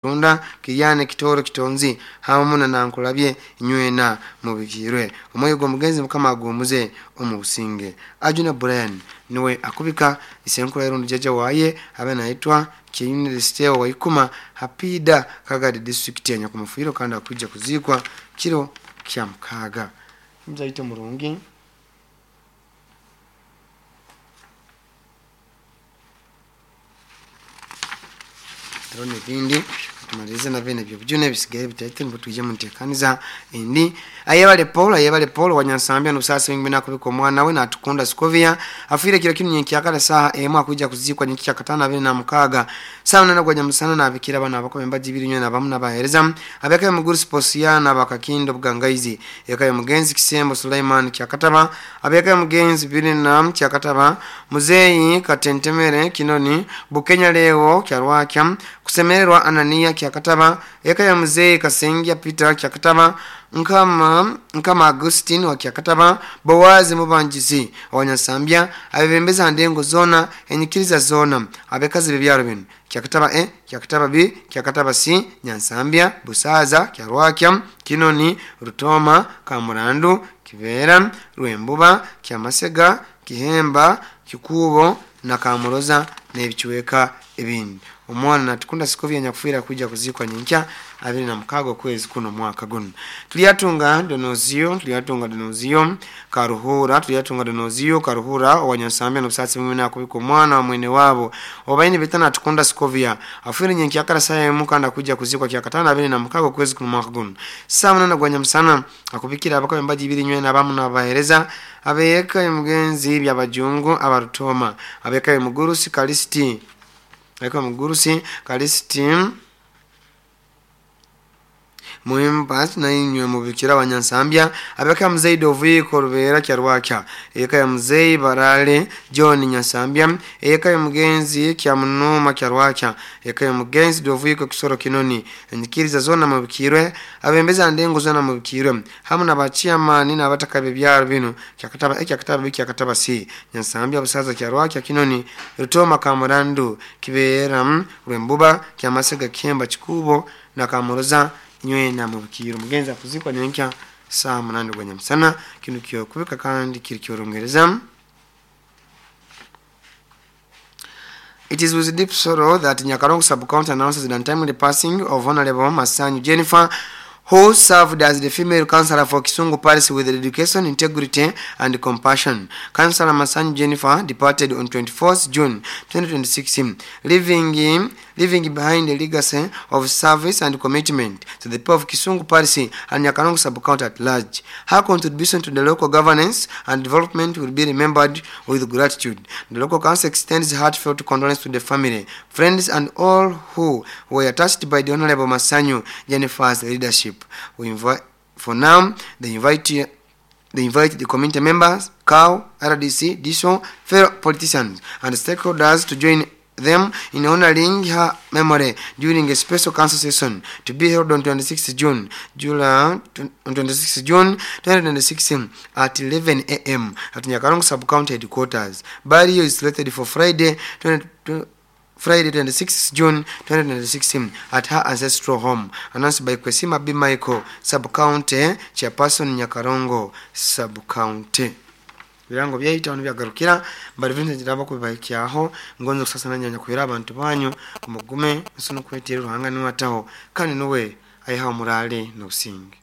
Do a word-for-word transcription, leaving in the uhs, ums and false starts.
Runda Kiryane Kitoro Kitonzi hamu na Nankulabye nywena mubikirwe omwoyo gw'omugenzi Mukama aguwumuze omu businge. Ajuna Brian niwe akubika isenkuru Irundi jjajja waye abe naitwa Kiyinire Waikuma Hapida Kagadi district ya Nyakumufwiro kandi akwijja kuziikwa kiro kya mukaaga. Muzaite murungi. Hariho n'ebindi tumalirize nabyo nabyo byona ebisigaye bitaite nibwo twije munteekaniza endi. Ayebale Paul, ayebale Paul wanyansambya n'obusaasi bwingi nakubika omwana we natukunda Sikovia afiire kiro kinu nyenkyakara saaha emu akwijja kuziikwa nyenkya katano abiri na mukaaga saawa munana gwa nyamusana nabikira abana abakoba embaji ibiri nywena abamu nabaheereza abeka y'omuguru Siposiana bakakindo Bugangaizi eka y'omugenzi Kisembo Sulaiman Kyakataba abeka y'omugenzi Birina Kyakataba Muzeeyi Katentemere Kinoni Bukenya Leo Kyarwakya Kusemererwa Anania Kyakataba eka ya Muzeeyi Kasengia Peter Kyakataba Nkama Nkama Agustin wa Kyakataba Bowazi Mubanjizi Abanyasambya abebembeza ndengo zona enyikiriza zona abekazi bebyaro bino Kyakataba A, Kyakataba B, Kyakataba C, Nyansambya, Busaza, Kyarwakya, Kinoni, Rutoma, Kamurandu, Kibera, Rwembuba, Kyamasega, Kihemba, Kikubo na Kamuroza n'ebikiweka ebindi. Omwana natukunda Sikovia nyakufiira kuja kuzikwa nyenkya abiri na mukaaga okwezi kuno mwaka guno. Tulyatunga Donozio, tulyatunga Donozio Karuhura, tulyatunga Donozio Karuhura owanyansambya n'obusaasi bwingi nakubika omwana wa mwene wabo obaine betana natukunda Sikovia afiire nyenkya kara saa emu kandi akuja kuzikwa kyakatano abiri na mukaaga okwezi kuno mwaka guno. Saa munana gwa nyamusana akubikira abakoba embaji ibiri nywena abamu n'abaheereza abeeka emugenzi byabajungu abarutoma abeeka emugurusi Kalisiti eka mugurusi Kalisiti Muhimba nainywe mubikira abanyansambya abeka Muzeyi Doviko Rubera Kyarwakya eka ya Muzeyi Barale John Nyansambya eka ya mugenzi Kyamunuma Kyarwakya eka ya mugenzi Doviko Kisoro Kinoni enyikiriza zona mubikirwe abembeza ndengo zona mubikirwe hamu n'abachiamani n'abataka bebyaro bino Kyakataba A, Kyakataba B, Kyakataba C, Nyansambya, Busaza, Kyarwakya, Kinoni, Rutoma, Kamurandu, Kibera, Rwembuba, Kyamasega, Kihemba, Kikubo na Kamuroza nywena mubikiro. Mugenzi akuzikwa nyenkya saa munane gwa nyamusana. Kinu kyokubika kandi kiri kyorongereza. It is with deep sorrow that Nyakarongo Sub-County announces the untimely passing of Honorable Masanyu Jennifer, who served as the female councillor for Kisungu Parish with dedication, integrity, and compassion. Councillor Masanyu Jennifer departed on twenty-fourth June twenty twenty-six, leaving, him, leaving behind a legacy of service and commitment to the people of Kisungu Parish and Nyakarongo Sub-County at large. Her contribution to the local governance and development will be remembered with gratitude. The local council extends heartfelt condolences to the family, friends, and all who were touched by the Honorable Masanyu Jennifer's leadership. We invite, for now, they invite, they invite the community members, C A O, R D C, D S O, fellow politicians, and stakeholders to join them in honoring her memory during a special council session to be held on twenty-sixth June, July, on twenty-sixth June twenty twenty-six at eleven A M at Nyakarongo Sub-County headquarters. Burial is slated for Friday, twenty, Friday twenty-sixth June twenty twenty-six at her ancestral home, announced by Kwesima B. Michael, Sub-County Chairperson, Nyakarongo Sub-County. Birango byaita ono byagarukira bali vintu jiraba kubahikyaho ngonzo kusasa nanyanya kuhira abantu banyu kumugume nsono kwetera ruhanga niwataho kandi nuwe ayiha umurale n'obusinge.